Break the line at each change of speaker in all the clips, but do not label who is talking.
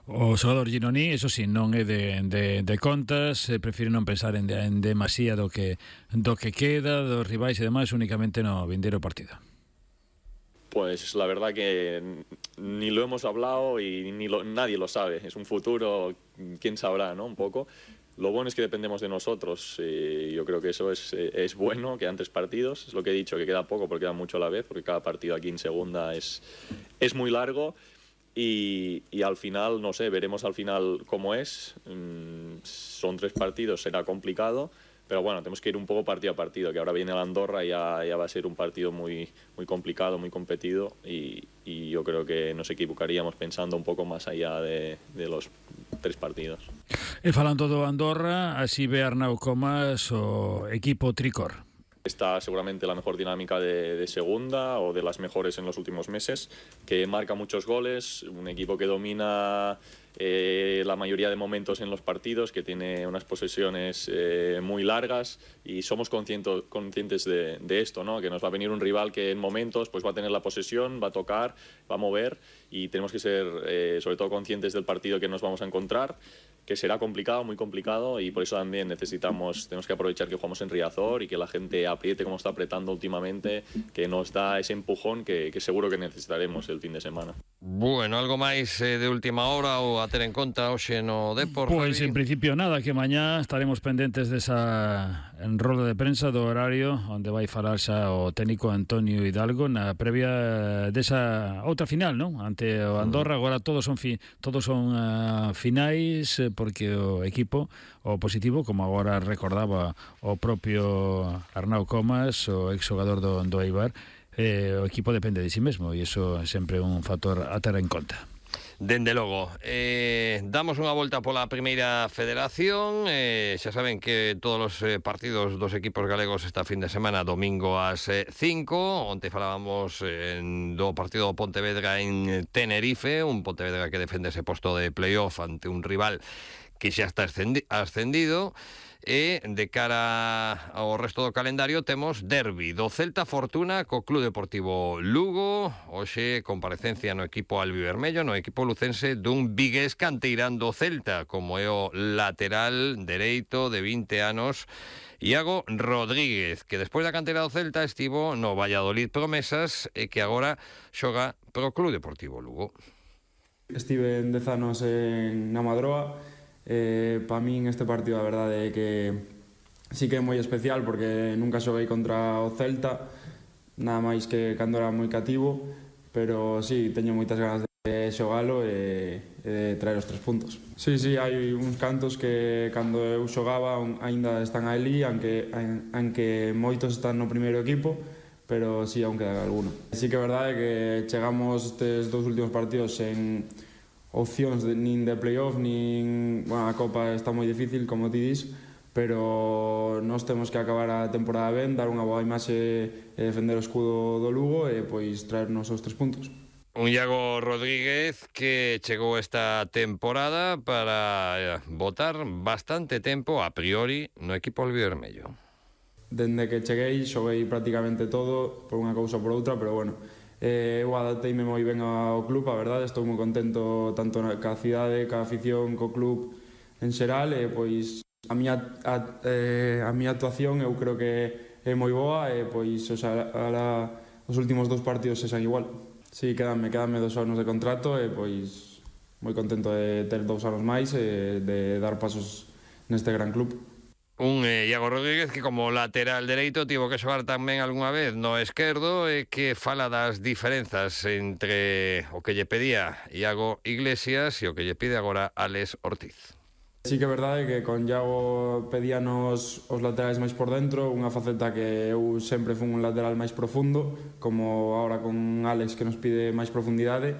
O xogador Gironí, eso sí, non é de contas, prefire non pensar en demasía do que queda, dos rivais e demais, únicamente no vindeiro partido.
Pues la verdad que ni lo hemos hablado y nadie lo sabe. Es un futuro, quién sabrá, ¿no? Un poco. Lo bueno es que dependemos de nosotros. Yo creo que eso es bueno, quedan 3 partidos. Es lo que he dicho, que queda poco porque queda mucho a la vez, porque cada partido aquí en segunda es muy largo. Y al final, no sé, veremos al final cómo es. Son 3 partidos, será complicado. Pero bueno, tenemos que ir un poco partido a partido, que ahora viene la Andorra y ya va a ser un partido muy complicado, muy competido, y yo creo que nos equivocaríamos pensando un poco más allá de los 3 partidos.
E falando do Andorra, así ve Arnau Comas o equipo tricor.
Está seguramente la mejor dinámica de segunda o de las mejores en los últimos meses, que marca muchos goles, un equipo que domina la mayoría de momentos en los partidos, que tiene unas posesiones muy largas, y somos conscientes de esto, ¿no? Que nos va a venir un rival que en momentos pues va a tener la posesión, va a tocar, va a mover, y tenemos que ser sobre todo conscientes del partido que nos vamos a encontrar, que será complicado, muy complicado, y por eso también tenemos que aprovechar que jugamos en Riazor y que la gente apriete como está apretando últimamente, que nos da ese empujón que seguro que necesitaremos el fin de semana.
Bueno, algo máis de última hora ou a ter en conta hoxe no Depor?
Pois en principio nada, que mañá estaremos pendentes desa enrola de prensa do horario onde vai falar xa o técnico Antonio Hidalgo na previa desa outra final, non? Ante o Andorra. Agora todos son finais, porque o equipo, o positivo, como agora recordaba o propio Arnau Comas, o exxogador do Eibar, o equipo depende de si mesmo, e iso é sempre un factor a ter en conta.
Dende logo, damos unha volta pola primeira federación. Xa saben que todos os partidos dos equipos galegos esta fin de semana, domingo ás 5. Onte falábamos do partido do Pontevedra en Tenerife, un Pontevedra que defende ese posto de playoff ante un rival que xa está ascendido. E de cara ao resto do calendario temos derbi do Celta Fortuna co Club Deportivo Lugo. Hoxe comparecencia no equipo albivermello, no equipo lucense, dun vigués canteirán do Celta, como é o lateral dereito de 20 anos Iago Rodríguez, que despois da cantera do Celta estivo no Valladolid Promesas e que agora xoga pro Club Deportivo Lugo.
Estive en 10 anos na Madroa. Para min este partido a verdade é que sí que é moi especial, porque nunca xoguei contra o Celta, nada máis que cando era moi cativo, pero sí, teño moitas ganas de xogalo e de traer os 3 puntos. Sí, hai uns cantos que cando eu xogaba aínda están ali, aunque moitos están no primeiro equipo, pero sí, aún queda alguno. Sí que é verdade que chegamos estes 2 últimos partidos en opcións nin de playoff, nin... Bueno, a Copa está moi difícil, como ti dis, pero nós temos que acabar a temporada ben, dar unha boa imaxe e defender o escudo do Lugo e pois traernos os 3 puntos.
Un Iago Rodríguez que chegou esta temporada para botar bastante tempo, a priori, no equipo albivermello.
Dende que cheguei, xoguei prácticamente todo, por unha cousa ou por outra, pero bueno, eu adapteime moi ben ao club, a verdade, estou moi contento tanto ca cidade, ca afición, co club en xeral, e pois a miña actuación eu creo que é moi boa, e pois os últimos 2 partidos sexan igual. Si, quedanme 2 anos de contrato, e pois moi contento de ter 2 anos máis e de dar pasos neste gran club.
Un Iago Rodríguez que como lateral dereito tivo que xogar tamén algunha vez no esquerdo, e que fala das diferenzas entre o que lle pedía Iago Iglesias e o que lle pide agora Álex Ortiz.
Sí que é verdade que con Iago pedíanos os laterais máis por dentro, unha faceta que eu sempre fui un lateral máis profundo, como agora con Álex que nos pide máis profundidade.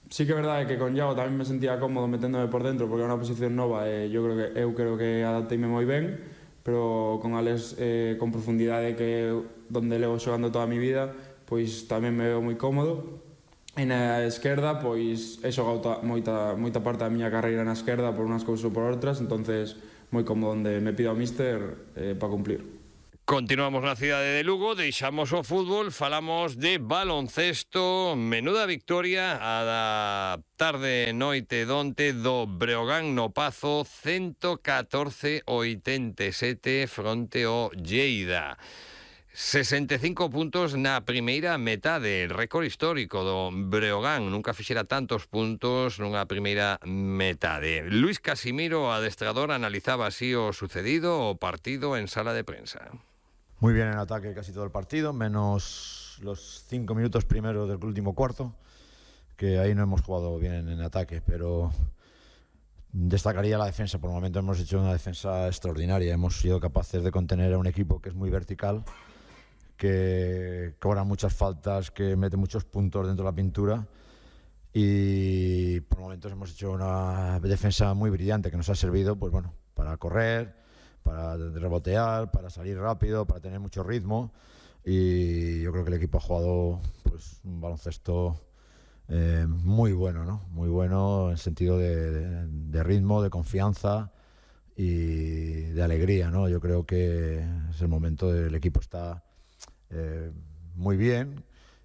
Sí que é verdade que con Iago tamén me sentía cómodo meténdome por dentro, porque é unha posición nova e eu creo que adapteime moi ben, pero con Álex con profundidade, que é donde levo xogando toda a mi vida, pois tamén me veo moi cómodo. E na esquerda, pois he xogado moita parte da miña carreira na esquerda por unhas cousas ou por outras, entonces moi cómodo onde me pida o míster para cumplir.
Continuamos na cidade de Lugo, deixamos o fútbol, falamos de baloncesto. Menuda victoria a da tarde noite donte do Breogán no Pazo, 114-87 fronte ao Lleida. 65 puntos na primeira metade, récord histórico do Breogán, nunca fixera tantos puntos nunha primeira metade. Luis Casimiro, adestrador, analizaba así o sucedido o partido en sala de prensa.
Muy bien en ataque casi todo el partido, menos los 5 minutos primeros del último cuarto, que ahí no hemos jugado bien en ataque, pero destacaría la defensa. Por el momento hemos hecho una defensa extraordinaria, hemos sido capaces de contener a un equipo que es muy vertical, que cobra muchas faltas, que mete muchos puntos dentro de la pintura, y por momentos hemos hecho una defensa muy brillante que nos ha servido, pues bueno, para correr, para rebotear, para salir rápido, para tener mucho ritmo, y yo creo que el equipo ha jugado pues un baloncesto muy bueno, ¿no? Muy bueno en sentido de ritmo, de confianza y de alegría, ¿no? Yo creo que es el momento del equipo está muy bien.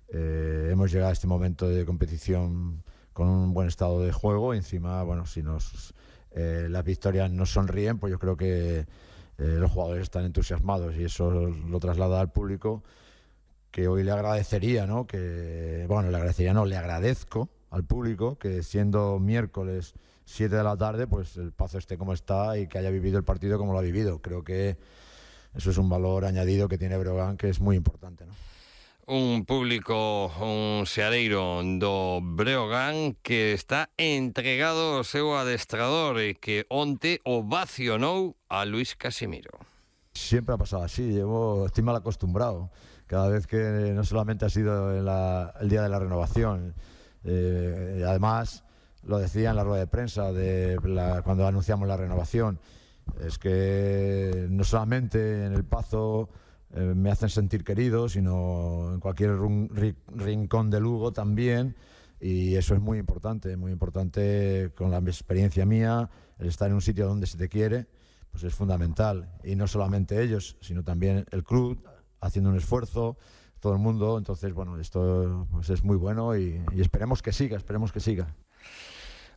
Hemos llegado a este momento de competición con un buen estado de juego, y encima, bueno, si las victorias nos sonríen, pues yo creo que los jugadores están entusiasmados, y eso lo traslada al público, que hoy le agradecería, ¿no? Le agradezco al público que siendo miércoles 7 de la tarde, pues el Pazo esté como está y que haya vivido el partido como lo ha vivido. Creo que eso es un valor añadido que tiene Breogán, que es muy importante, ¿no?
Un público, un seareiro do Breogán que está entregado ao seu adestrador e que onte ovacionou a Luis Casimiro.
Siempre ha pasado así, estoy mal acostumbrado. Cada vez que no solamente ha sido el día de la renovación, además lo decía en la rueda de prensa cuando anunciamos la renovación, es que no solamente en el Pazo me hacen sentir querido, sino en cualquier rincón de Lugo también, y eso es muy importante con la experiencia mía. El estar en un sitio donde se te quiere, pues es fundamental, y no solamente ellos, sino también el club haciendo un esfuerzo, todo el mundo. Entonces, bueno, esto pues es muy bueno, y esperemos que siga.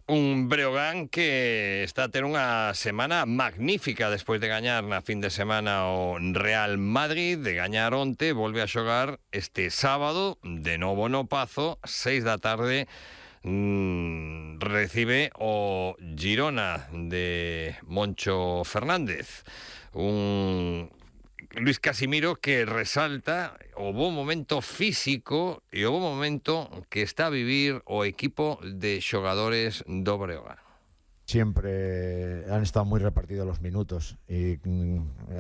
Un Breogán que está a ter unha semana magnífica despois de gañar na fin de semana o Real Madrid, de gañar onte, volve a xogar este sábado, de novo no Pazo, 6 da tarde, recibe o Girona de Moncho Fernández. Un Luis Casimiro que resalta o bo momento físico e o bo momento que está a vivir o equipo de xogadores do Breogán.
Siempre han estado muy repartidos los minutos, y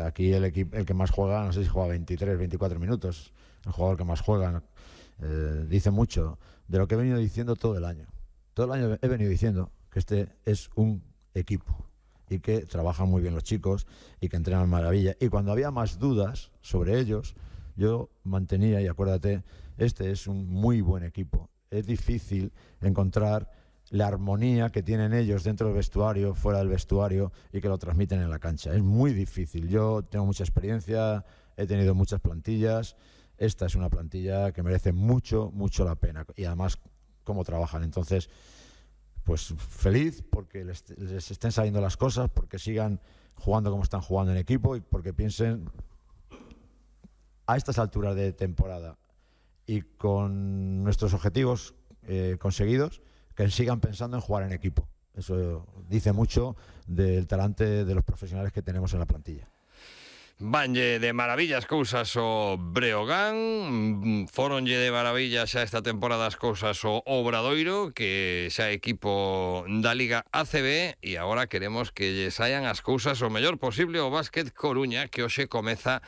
aquí el que más juega, no sé si juega 23, 24 minutos, el jugador que más juega, dice mucho de lo que he venido diciendo todo el año. Todo el año he venido diciendo que este es un equipo, y que trabajan muy bien los chicos y que entrenan maravilla. Y cuando había más dudas sobre ellos, yo mantenía, y acuérdate, este es un muy buen equipo. Es difícil encontrar la armonía que tienen ellos dentro del vestuario, fuera del vestuario, y que lo transmiten en la cancha. Es muy difícil. Yo tengo mucha experiencia, he tenido muchas plantillas. Esta es una plantilla que merece mucho, mucho la pena. Y además, cómo trabajan. Entonces, pues feliz porque les estén saliendo las cosas, porque sigan jugando como están jugando en equipo, y porque piensen a estas alturas de temporada y con nuestros objetivos conseguidos, que sigan pensando en jugar en equipo. Eso dice mucho del talante de los profesionales que tenemos en la plantilla.
Vanlle de maravillas cousas o Breogán, foronlle de maravillas xa esta temporada as cousas o Obradoiro, que xa é equipo da Liga ACB, e agora queremos que lle saian as cousas o mellor posible o Básquet Coruña, que hoxe comeza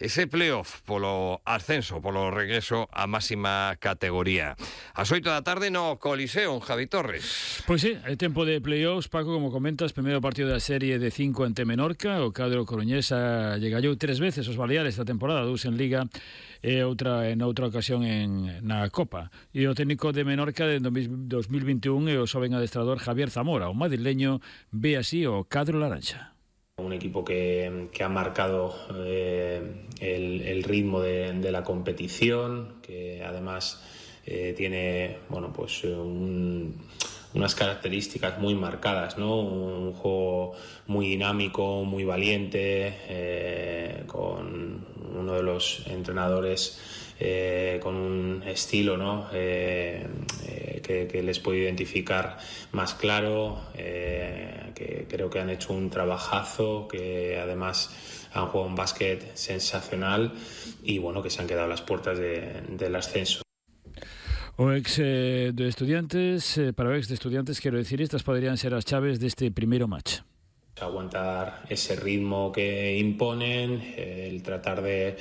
ese playoff polo ascenso, polo regreso á máxima categoría. As 8 da tarde no Coliseo, en Javi Torres.
Pois sí, é tempo de playoffs, Paco, como comentas, primeiro partido da serie de 5 ante Menorca. O cadro coruñesa lle gallou 3 veces os Baleares esta temporada, 2 en Liga e outra en outra ocasión na Copa. E o técnico de Menorca de 2021 é o xoven adestrador Javier Zamora. O madrileño ve así o cadro laranxa.
Un equipo que ha marcado el ritmo de la competición, que además tiene pues unas características muy marcadas, ¿no? Un juego muy dinámico, muy valiente, con uno de los entrenadores con un estilo, ¿no? Que les puedo identificar más claro, que creo que han hecho un trabajazo, que además han jugado un básquet sensacional y que se han quedado a las puertas del ascenso.
O ex de Estudiantes, para o ex de Estudiantes, quero dicir, estas poderían ser as chaves deste primeiro match.
Aguantar ese ritmo que imponen, el tratar de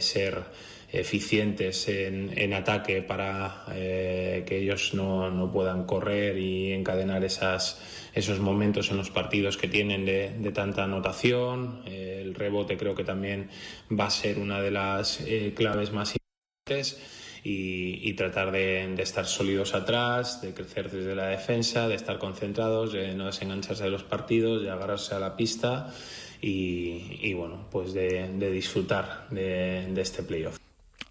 ser eficientes en ataque para que ellos no puedan correr y encadenar esos momentos en los partidos que tienen de tanta anotación. El rebote creo que también va a ser una de las claves más importantes. Y tratar de estar sólidos atrás, de crecer desde la defensa, de estar concentrados, de no desengancharse de los partidos, de agarrarse a la pista y pues de disfrutar de este playoff.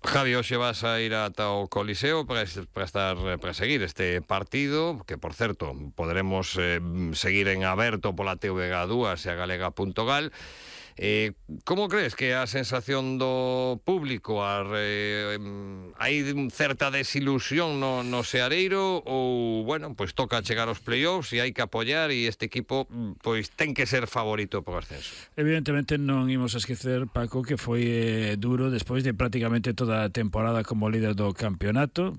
Javi, hoxe vas a ir ata o Coliseo para seguir este partido, que por certo poderemos seguir en aberto pola TVG2 e a galega.gal. Como crees que a sensación do público hai certa desilusión no Seareiro ou, pois toca chegar aos playoffs e hai que apoiar e este equipo pois ten que ser favorito por ascenso?
Evidentemente non imos a esquecer, Paco, que foi duro despois de prácticamente toda a temporada como líder do campeonato,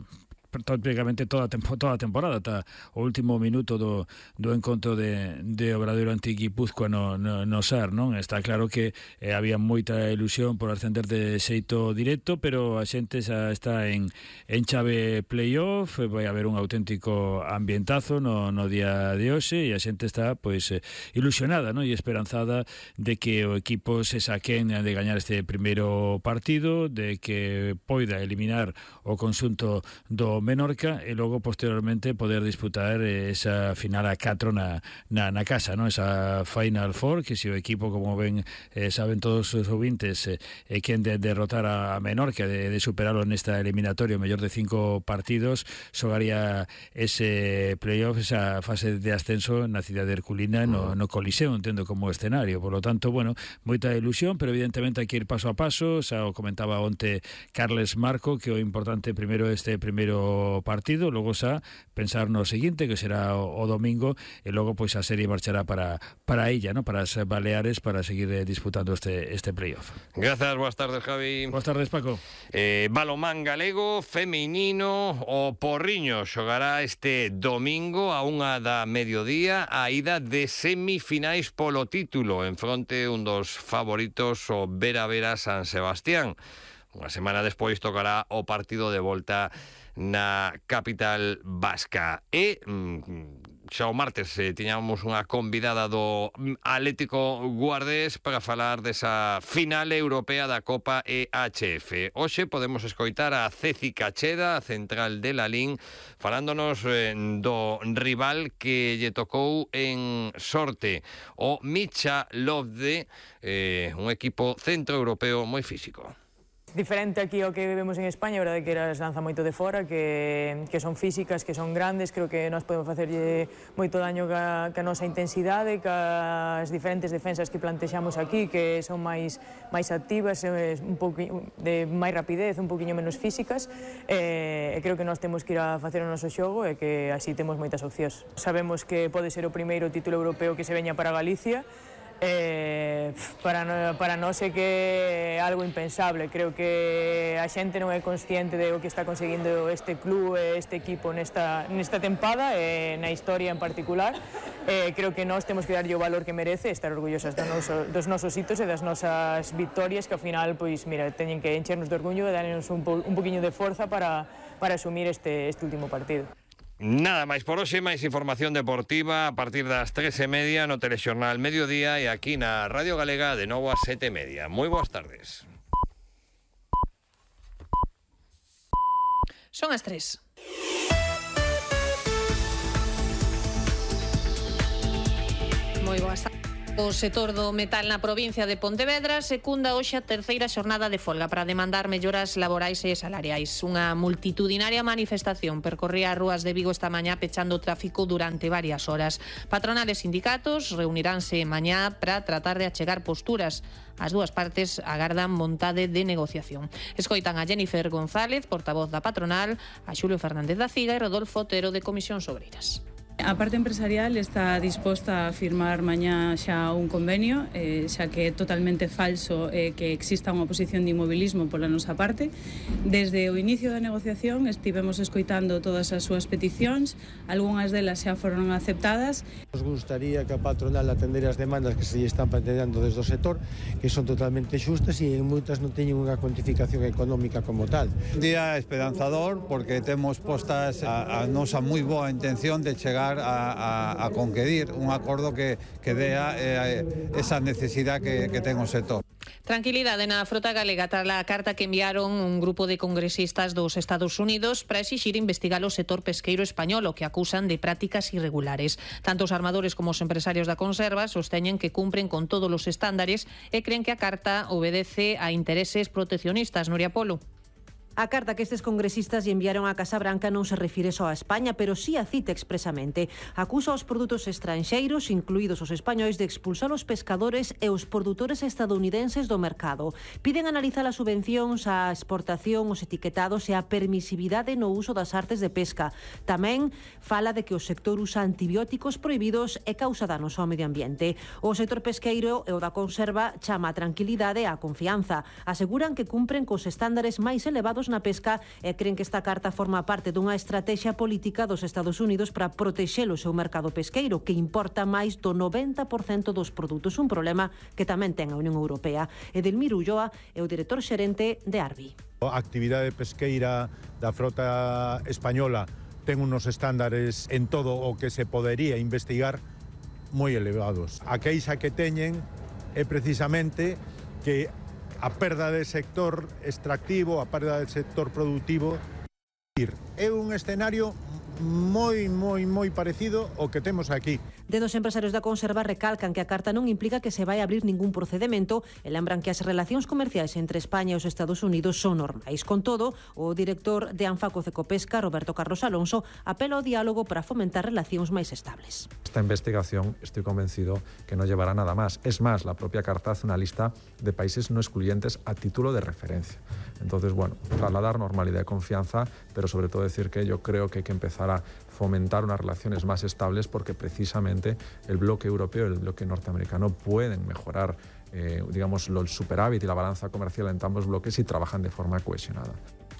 prácticamente toda a temporada ata o último minuto do encontro de Obradoiro ante Guipúzcoa no SAR, non? Está claro que había moita ilusión por ascender de xeito directo, pero a xente xa está en chave playoff, vai haber un auténtico ambientazo no día de hoxe e a xente está pois ilusionada, non? E esperanzada de que o equipo se saquen de gañar este primeiro partido, de que poida eliminar o conxunto do Menorca e logo posteriormente poder disputar esa final a 4 na casa, non? Esa Final Four, que se o equipo, como ben saben todos os ouvintes, quen de derrotar a Menorca, de superarlo nesta eliminatoria, o mellor de 5 partidos, xogaría ese playoff, esa fase de ascenso na cidade de Herculina, no Coliseo, entendo, como escenario. Por lo tanto, moita ilusión, pero evidentemente hai que ir paso a paso. Xa o comentaba onte Carles Marco, que o importante primeiro este primeiro partido, logo xa pensar no seguinte, que será o domingo, e logo pois a serie marchará para a illa, ¿no? Para as Baleares, para seguir disputando este playoff.
Gracias, boas tardes, Javi.
Boas tardes, Paco.
Balonmán galego feminino, o Porriño xogará este domingo a 1:00 PM a ida de semifinais polo título en fronte un dos favoritos, o Vera San Sebastián. Unha semana despois tocará o partido de volta na capital vasca. E xa o martes tiñamos unha convidada do Atlético Guardés para falar desa final europea da Copa EHF. Hoxe podemos escoitar a Ceci Cacheda, a central de Lalín, falándonos do rival que lle tocou en sorte, o Michalovce, un equipo centroeuropeo moi físico.
Diferente aquí ao que vemos en España, a verdade que eras lanza moito de fora, que son físicas, que son grandes. Creo que nós podemos facerlle moito daño ca nosa intensidade, ca as diferentes defensas que plantexamos aquí, que son máis activas, un pouco de máis rapidez, un pouquiño menos físicas, e creo que nós temos que ir a facer o noso xogo e que así temos moitas opcións. Sabemos que pode ser o primeiro título europeo que se veña para Galicia. Para nós é que é algo impensable. Creo que a xente non é consciente de o que está conseguindo este club e este equipo nesta tempada e na historia en particular. Creo que nós temos que darlle o valor que merece, estar orgullosas dos nosos hitos e das nosas victorias, que ao final, pois, mira, teñen que enchernos de orgullo e darnos un poquinho de forza para asumir este último partido.
Nada máis por hoxe, máis información deportiva a partir das 3:30 no Telexornal Mediodía e aquí na Radio Galega de novo ás 7:30. Moi boas tardes.
Son as 3. Moi boas tardes. O sector do metal na provincia de Pontevedra secunda hoxe a terceira xornada de folga para demandar melloras laborais e salariais. Unha multitudinaria manifestación percorría as rúas de Vigo esta mañá pechando o tráfico durante varias horas. Patronales e sindicatos reuniránse mañá para tratar de achegar posturas. As dúas partes agardan vontade de negociación. Escoitan a Jennifer González, portavoz da patronal, a Xulio Fernández da Ciga e Rodolfo Otero de Comisións Obreiras.
A parte empresarial está disposta a firmar mañá xa un convenio, xa que é totalmente falso que exista unha posición de inmobilismo pola nosa parte. Desde o inicio da negociación estivemos escoitando todas as súas peticións, algunhas delas xa foron aceptadas.
Nos gustaría que a patronal atendera as demandas que se lle están planteando desde o sector, que son totalmente xustas e en moitas non teñen unha cuantificación económica como tal.
Un día esperanzador porque temos postas a nosa moi boa intención de chegar a conquerir un acordo que dea esa necesidade que ten o sector.
Tranquilidade na frota galega tras a carta que enviaron un grupo de congresistas dos Estados Unidos para exixir investigar o sector pesqueiro español, o que acusan de prácticas irregulares. Tanto os armadores como os empresarios da conserva sosteñen que cumpren con todos os estándares e creen que a carta obedece a intereses proteccionistas. Nuria Polo.
A carta que estes congresistas lle enviaron á Casa Branca non se refire só a España, pero sí a cita expresamente. Acusa os produtos estranxeiros, incluídos os españois, de expulsar os pescadores e os produtores estadounidenses do mercado. Piden analizar as subvencións, a exportación, os etiquetados e a permisividade no uso das artes de pesca. Tamén fala de que o sector usa antibióticos prohibidos e causa danos ao medio ambiente. O sector pesqueiro e o da conserva chama a tranquilidade e a confianza. Aseguran que cumpren cos estándares máis elevados na pesca e creen que esta carta forma parte dunha estrategia política dos Estados Unidos para protexer o seu mercado pesqueiro, que importa máis do 90% dos produtos, un problema que tamén ten a Unión Europea. Edelmiro Ulloa é o director xerente de Arbi.
A actividade pesqueira da frota española ten unos estándares en todo o que se podería investigar moi elevados. A queixa que teñen é precisamente que a perda de sector extractivo, a perda de sector productivo. É un escenario moi parecido ao que temos aquí.
Desde os empresarios da conserva recalcan que a carta non implica que se vai abrir ningún procedemento e lembran que as relacións comerciais entre España e os Estados Unidos son normais. Con todo, o director de Anfaco Cecopesca, Roberto Carlos Alonso, apela ao diálogo para fomentar relacións máis estables.
Esta investigación estoy convencido que no llevará nada más. Es más, la propia carta hace una lista de países no excluyentes a título de referencia. Entonces, bueno, trasladar normalidad y confianza, pero sobre todo decir que yo creo que hay que empezar a fomentar unas relaciones más estables porque precisamente el bloque europeo y el bloque norteamericano pueden mejorar, digamos, el superávit y la balanza comercial entre ambos bloques si trabajan de forma cohesionada.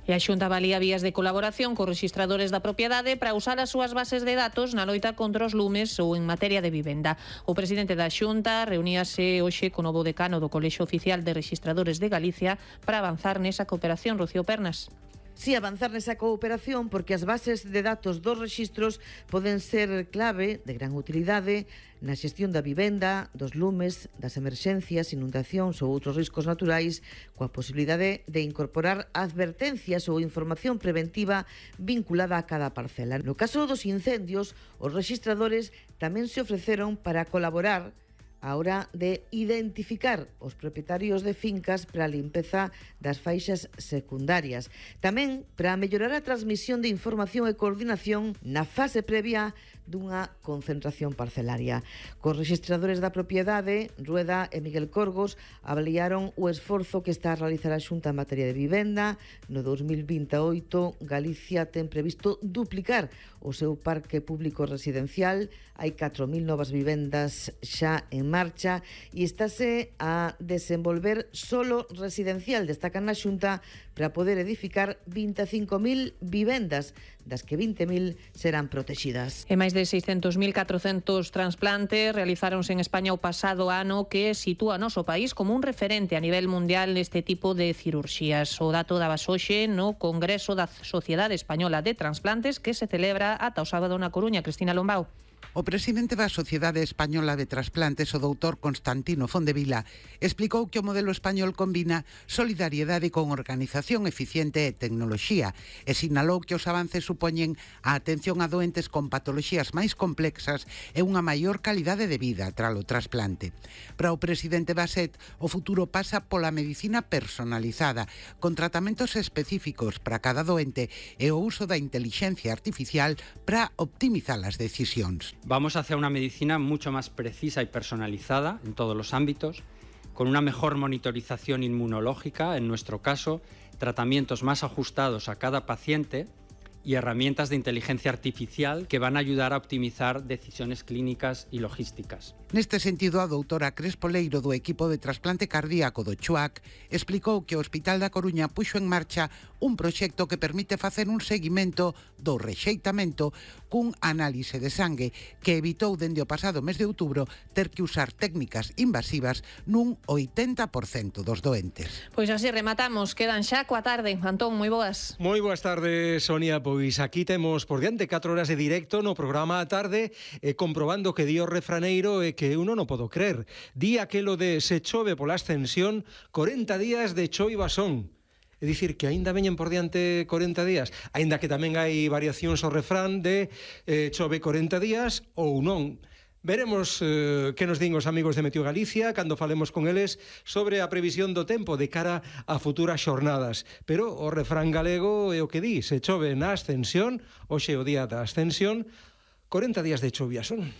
E a Xunta valía vías de colaboración cos rexistradores da propiedade para usar as súas bases de datos na loita contra os lumes ou en materia de vivenda. O presidente da Xunta reuníase hoxe co novo decano do Colexio Oficial de Rexistradores de Galicia para avanzar nesa cooperación. Rocío Pernas.
Si avanzar nesa cooperación porque as bases de datos dos rexistros poden ser clave de gran utilidade na xestión da vivenda, dos lumes, das emerxencias, inundacións ou outros riscos naturais, coa posibilidade de incorporar advertencias ou información preventiva vinculada a cada parcela. No caso dos incendios, os rexistradores tamén se ofreceron para colaborar a hora de identificar os propietarios de fincas para a limpeza das faixas secundarias. Tamén para mellorar a transmisión de información e coordinación na fase previa dunha concentración parcelaria. Cos rexistradores da propiedade, Rueda e Miguel Corgos avaliaron o esforzo que está a realizar a Xunta en materia de vivenda. No 2028, Galicia ten previsto duplicar o seu parque público residencial. Hai 4.000 novas vivendas xa en marcha e estáse a desenvolver solo residencial, destacan na Xunta, para poder edificar 25.000 vivendas, das que 20.000 serán protegidas.
E máis de 600.400 trasplantes realizáronse en España o pasado ano, que sitúa o noso país como un referente a nivel mundial neste tipo de cirurxías. O dato daba hoxe no Congreso da Sociedade Española de Transplantes, que se celebra ata o sábado na Coruña. Cristina Lombao.
O presidente da Sociedade Española de Transplantes, o doutor Constantino Fondevila, explicou que o modelo español combina solidariedade con organización hospitalización eficiente e tecnoloxía e sinalou que os avances supoñen a atención a doentes con patoloxías máis complexas e unha maior calidade de vida tras o trasplante. Para o presidente Baset, o futuro pasa pola medicina personalizada, con tratamentos específicos para cada doente e o uso da inteligencia artificial para optimizar as decisións.
Vamos hacia una medicina mucho más precisa y personalizada en todos los ámbitos, con una mejor monitorización inmunológica, en nuestro caso, tratamientos más ajustados a cada paciente y herramientas de inteligencia artificial que van a ayudar a optimizar decisiones clínicas y logísticas.
Neste sentido, a doutora Crespo Leiro do equipo de trasplante cardíaco do CHUAC explicou que o Hospital da Coruña puxo en marcha un proxecto que permite facer un seguimento do rexeitamento cun análise de sangue que evitou dende o pasado mes de outubro ter que usar técnicas invasivas nun 80% dos doentes.
Pois así rematamos, quedan xa coa tarde. Antón, moi boas.
Moi boas tardes, Sonia. Pois aquí temos por diante 4 horas de directo no programa a tarde comprobando que di o refraneiro e que uno non podo creer. Di aquelo de se chove pola ascensión, 40 días de choiva son. É dicir, que aínda veñen por diante 40 días, aínda que tamén hai variacións ao refrán de chove 40 días ou non. Veremos que nos din os amigos de Meteo Galicia cando falemos con eles sobre a previsión do tempo de cara a futuras xornadas. Pero o refrán galego é o que di, se chove na ascensión, hoxe o día da ascensión, 40 días de chovia son.